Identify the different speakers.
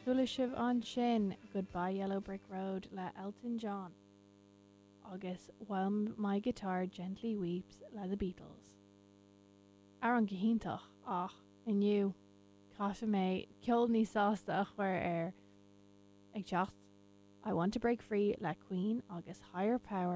Speaker 1: Chuala sibh ansin Goodbye Yellow Brick Road le Elton John agus While My Guitar Gently Weeps le The Beatles. Amhrán go hiontach ach inniu caithfidh mé ceol níos sásta a chur air. Ag teacht I Want to Break Free le Queen agus Higher Power.